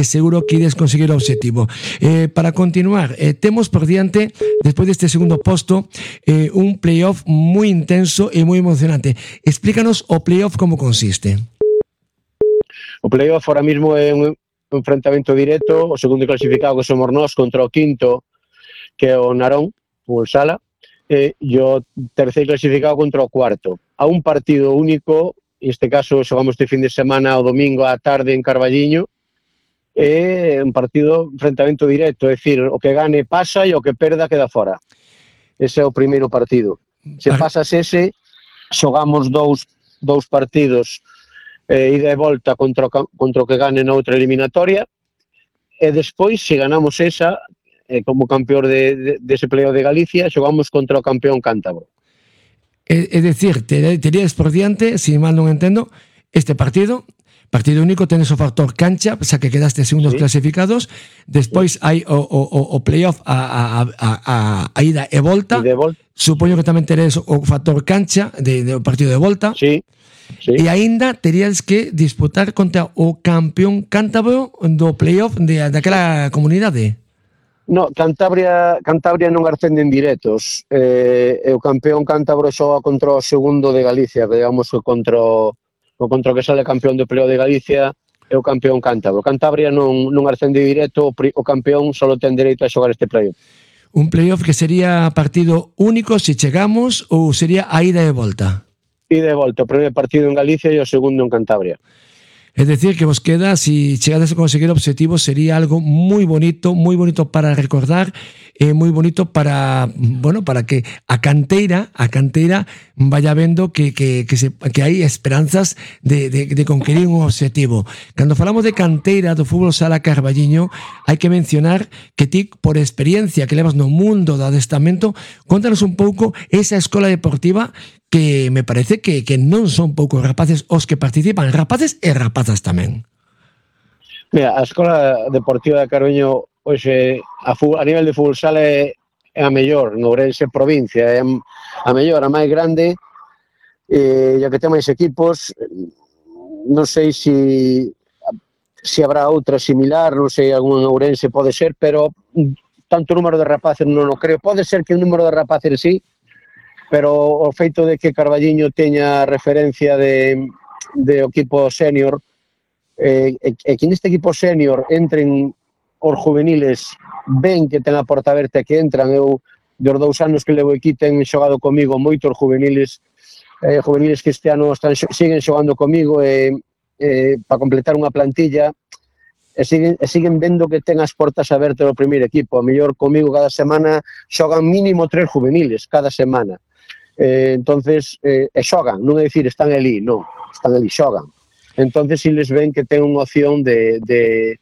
seguro que ides conseguir o obxectivo. Para continuar, temos por diante, despois deste segundo posto, un playoff moi intenso e moi emocionante. Explícanos o playoff como consiste. O playoff ahora mismo é un enfrentamento directo, o segundo clasificado que somos nós contra o quinto, que é o Narón, o Sala, e o terceiro clasificado contra o cuarto. A un partido único, neste caso xogamos este fin de semana o domingo á tarde en Carballiño, é un partido enfrentamento directo, é dicir, o que gane pasa e o que perda queda fora. Ese é o primeiro partido. Se pasas ese, xogamos dous partidos ida e volta contra o que gane na outra eliminatoria, e despois, se ganamos esa, como campeón dese playoff de Galicia, xogamos contra o campeón cántabro. É dicir, terías por diante, se mal non entendo, este partido único, tenes o factor cancha, xa que quedaste segundos clasificados, despois hai o playoff a ida e volta, supoño que tamén teres o factor cancha do partido de volta. Sí. E aínda terías que disputar contra o campeón cántabro do playoff daquela comunidade. No, Cantabria non ascende en directos. O campeón cántabro xoga contra o segundo de Galicia, que digamos que contra o que sale campeón do playoff de Galicia é o campeón cántabro. Cantabria non ascende directo, o campeón só ten dereito a xogar este playoff. Un playoff que sería partido único se chegamos ou sería a ida e volta? Ida e volta, o primeiro partido en Galicia e o segundo en Cantabria. Es decir, que vos queda, si chegades a conseguir objetivos, sería algo muy bonito para recordar, muy bonito para, bueno, para que a canteira vaya vendo que hai esperanzas de conquerir un objetivo. Cando falamos de canteira do fútbol sala Carballiño, hai que mencionar que ti, por experiencia que levas no mundo do adestramento, contanos un pouco esa escola deportiva que me parece que non son poucos rapaces os que participan, rapaces e rapazas tamén. Mira, a Escola Deportiva de Carballiño hoxe a nivel de fútbol sala é a mellor, no Ourense provincia, é a mellor, a máis grande, e a que ten máis equipos. Non sei se habrá outra similar, non sei, algún Ourense pode ser, pero tanto número de rapaces non o creo. Pode ser que o número de rapaces sí, pero o feito de que Carballiño teña referencia de equipo senior, e que neste equipo senior entren os juveniles, ven que ten a porta aberta que entran. Eu, dos 2 anos que levo aquí, ten xogado comigo moitos juveniles que este ano siguen xogando comigo, para completar unha plantilla, e siguen vendo que ten as portas abertas do primeiro equipo. A mellor comigo cada semana xogan mínimo 3 juveniles cada semana. Entonces xogan, non é dicir están ali, non, están ali, xogan. Entonces si les ven que ten unha opción de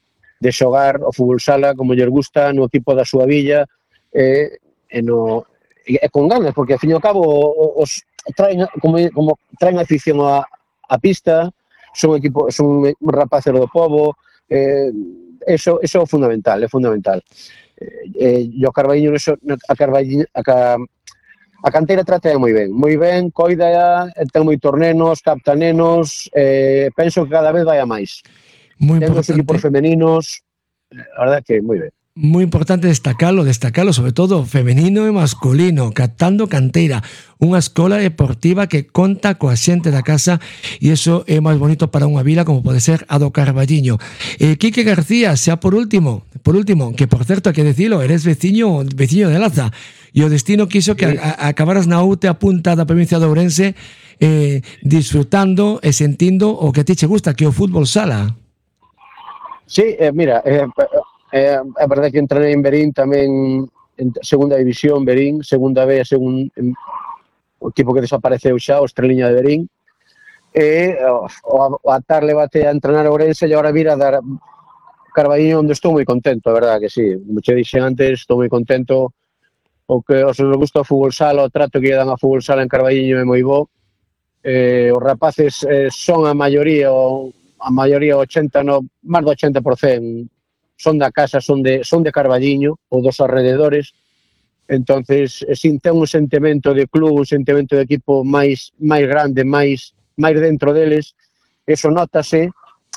xogar o fútbol sala como lles gusta, no equipo da súa villa, e con ganas, porque ao fin e ao cabo os traen afición a pista, son rapaces do pobo, eso é fundamental, é fundamental. E o Carballiño, a canteira trata moi ben, coida, ten moitos nenos, capta nenos, penso que cada vez vai a máis. Ten os equipos femeninos, a verdade que moi ben. Moi importante destacalo, sobre todo femenino e masculino, captando canteira, unha escola deportiva que conta coa xente da casa, e iso é máis bonito para unha vila como pode ser a do Carballiño. Quique García, xa por último, que por certo, hai que dicilo, eres veciño de Laza, e o destino quiso que acabaras na outra punta da provincia de Ourense, disfrutando e sentindo o que a ti che gusta, que é o fútbol sala. Sí, mira, é verdade que entrei en Verín tamén, en segunda división, Verín, segunda B, o equipo que desapareceu xa, o Estreliña de Verín, e a tarde bate a entrenar a Ourense e agora vir a dar Carballiño, onde estou moi contento, a verdade que sí. Como che dixen antes, estou moi contento. O que os nos gusta o fútbol sala, o trato que lle dan a fútbol sala en Carballiño é moi bo. Os rapaces son a maioría 80, no, máis do 80%, son da casa, son de Carballiño ou dos alrededores. Entonces, ten un sentimento de club, un sentimento de equipo máis grande, máis dentro deles. Eso nótase.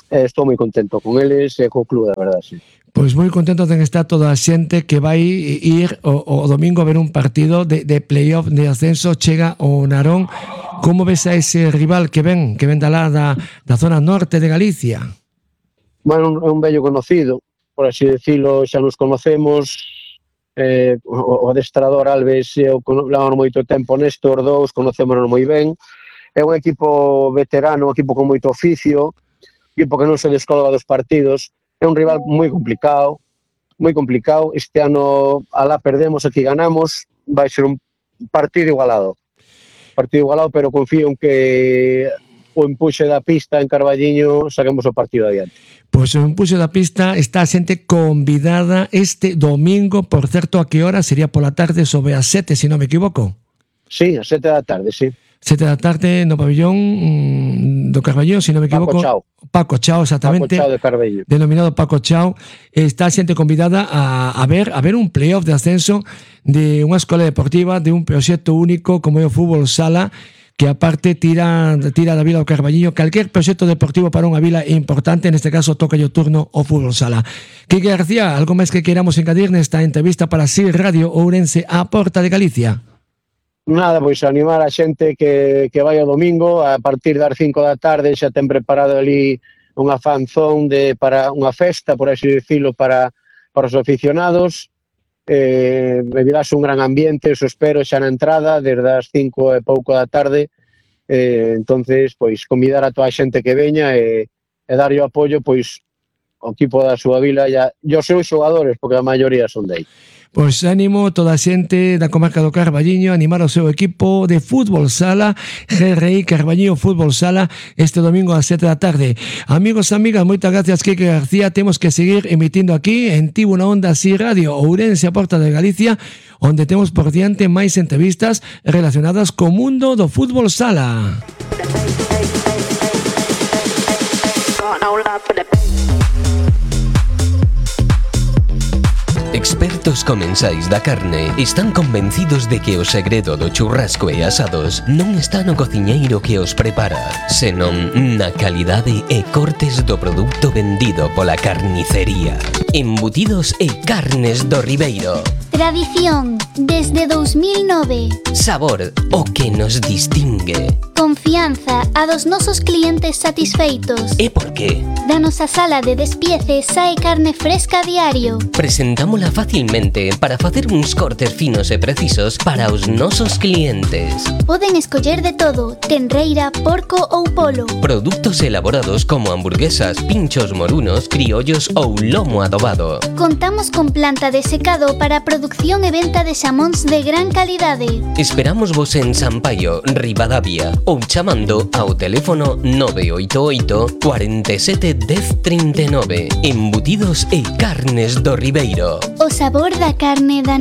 Estou moi contento con eles e co club, de verdade. sí. Pois moi contento de que está toda a xente que vai ir o domingo a ver un partido de playoff de ascenso. Chega o Narón. Como ves a ese rival que ven da lá da zona norte de Galicia? Bueno, é un vello conocido, por así decirlo, xa nos conocemos. O adestrador Alves levamos moito tempo nesto, os dous conocémonos moi ben. É un equipo veterano, un equipo con moito oficio, un equipo que non se descolga dos partidos. É un rival moi complicado. Este ano alá perdemos, aquí ganamos, vai ser un partido igualado, pero confío en que o empuxe da pista en Carballiño saquemos o partido adiante. Pois o empuxe da pista está a xente convidada este domingo, por certo, a que hora? Sería pola tarde, sobre as 7, se non me equivoco. Sí, a 7 da tarde, sí. 7 da tarde no pabellón do Carballiño, se non me equivoco. Paco Chao, exactamente. Paco Chao de Carballiño. Denominado Paco Chao. Está a xente convidada a ver un playoff de ascenso de unha escola deportiva, de un proxecto único como é o fútbol sala, que aparte tira da vila do Carballiño. Calquer proxecto deportivo para unha vila é importante, neste caso toca o turno o fútbol sala. Quique García, algo máis que queramos engadir nesta entrevista para SIR Radio Ourense, a Porta de Galicia? Nada, pois animar a xente que vai o domingo, a partir das 5 da tarde xa ten preparado ali unha fanzón para unha festa, por así decirlo, para os aficionados. Virase un gran ambiente, eso espero, xa na entrada, desde as 5 e pouco da tarde. Entonces, pois, convidar a toda a xente que veña e darlle o apoio, pois, ao equipo da súa vila e os seus xogadores, porque a maioría son dei. Pois ánimo toda a xente da comarca do Carballiño, animar o seu equipo de fútbol sala, GRI Carballiño Fútbol Sala, este domingo ás 7 da tarde. Amigos e amigas, moitas gracias, Quique García. Temos que seguir emitindo aquí en Tivo na Onda SIR Radio Ourense, a Porta de Galicia, onde temos por diante máis entrevistas relacionadas co mundo do fútbol sala. Expertos comensais da carne están convencidos de que o segredo do churrasco e asados non está no cociñeiro que os prepara, senón na calidade e cortes do produto vendido pola carnicería. Embutidos e carnes do Ribeiro. Tradición, desde 2009. Sabor, o que nos distingue. Confianza a dos nosos clientes satisfeitos. E por qué? Da nosa sala de despiece sae carne fresca a diario. Presentámola facilmente para facer uns cortes finos e precisos para os nosos clientes. Poden escoller de todo, tenreira, porco ou polo. Produtos elaborados como hamburguesas, pinchos morunos, criollos ou lomo adobado. Contamos con planta de secado para producción e venta de xamóns de gran calidade. Esperamos vos en Sampaio, Ribadavia, ou chamando ao teléfono 988 47 10 39. Embutidos e carnes do Ribeiro. O sabor da carne da